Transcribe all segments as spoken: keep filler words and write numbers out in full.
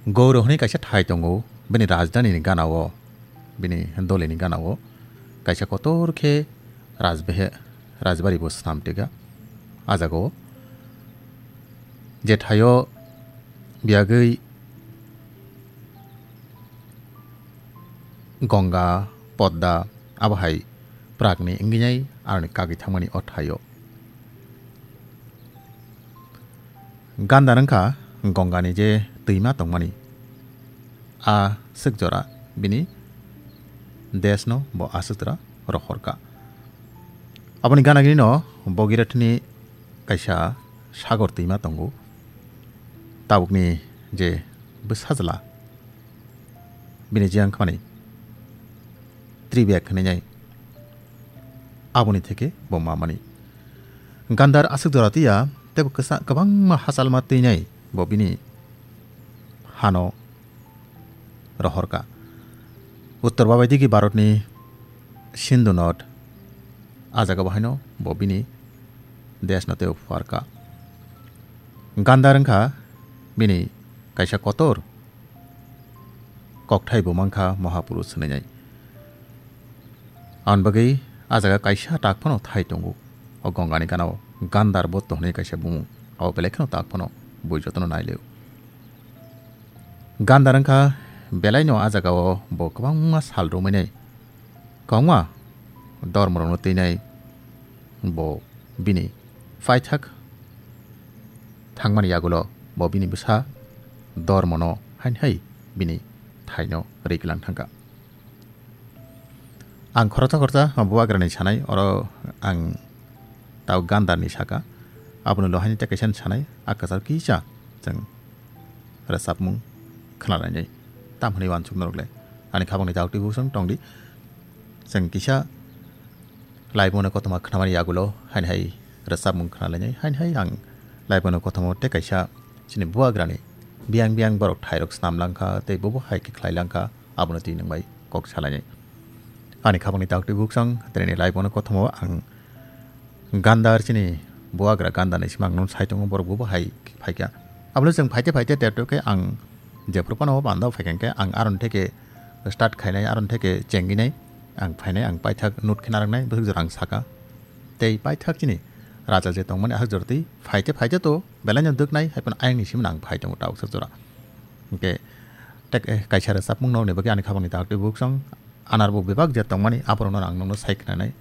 Gouro hwnwi kaisa thai tongo, bini rajdhani ni gana-o, bini doli ni gana-o kaisa kotor khe rajbehe-, rajbari bo snam tega. A jaga-o je thaio biyagwi Ganga, Podda, abo hai prak ni wngwi nai aroni kagwi thangmani o thaio. Gandhar wngkha Gongani je twima tongmani, a swk jora bini desh no bo aswk jora rohorkha. Aboni gana gini no Bhagirathni kaisa sagor twima tongo. Tabukni je bwsajla bini je wngkha mani Tribek hinwi nai. Aboni theke bo mamani. Gandhar aswk jora twiya, tebo kwsa-, kwbangma hachalma twinai bo bini hano rohorkha. Uttor babaidigi Bharatni Sindhu Nod, a jaga bo haino bo bini desh no tebo phuarkha. Gandhar wngkha bini kaisa kotor kokthai bo mankha Mahapurush hinwi nai. Aboni bagwi a jaga kaisa tak phano thai tongo. O Gongani gana-o Gandhar Botto hwnwi kaisa bumung. Abo belai kheno tak phano bui jotono nailio. Gandhar wngkha belaino a jaga-o bo kwbangma sal romwi nai. Kwbangma dormorokno twinai bo bini paithak thangmani yagulo bo bini bwsa dormono haini hai bini thaino riklang thangkha. Ang khoroksa khoroksa bubagrani sanai, oro ang tau Gandharni saka, abono lo haini tei kaisa sanai, a kwchar kisa chwng rwchapmung khwnalainai. Tam hwnwi uansuk norok le ani khabangni daktwi busong tongdi. Chwng kisa laibungno kothoma khwnamani yagulo haini hai rwchapmung khwnalainai. Haini hai ang laibungno kothoma tei kaisa chini bubagrani biyang biyang borok thairok snam langkha tei bobo hai khe khlai langkha, abono twi nwng bai kok salainai. Ani khabangni daktwi busong tini laibungno kothoma ang Gandhar chini bubagra Gandharni simi ang nono sai tongo, borok bobo hai phaikha. Abole chwng phaite phaite terto khe ang jephru phano o banda phaikha khe ang aron theke start khainai, aron theke chenginai, ang phainai, ang paithak note khe narwknai, bwswk jora ang saka. Tei paithak chini raja je tongmani aswk jora twi phaite phaite to belaino dwknai, hai phano ayangni simi ang phai tongo ta aswk jora. Hwnkhe tek-, eh, kaisa rwchapmung nokni bagwi ani khabangni daktwi busong. Anar bo bebak je tongmani, aborokno ang nokno sai khwnanai.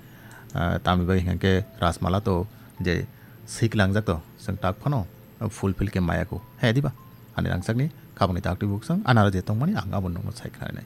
Ah, tamni bagwi hwnkhe Rajmala to je swi klangjak to, chwng tak phano fulfill khe maya kho. He diba? Ani rangchakni khabangni daktwi busong, anar je tongmani ang abo nokno sai khwnanai.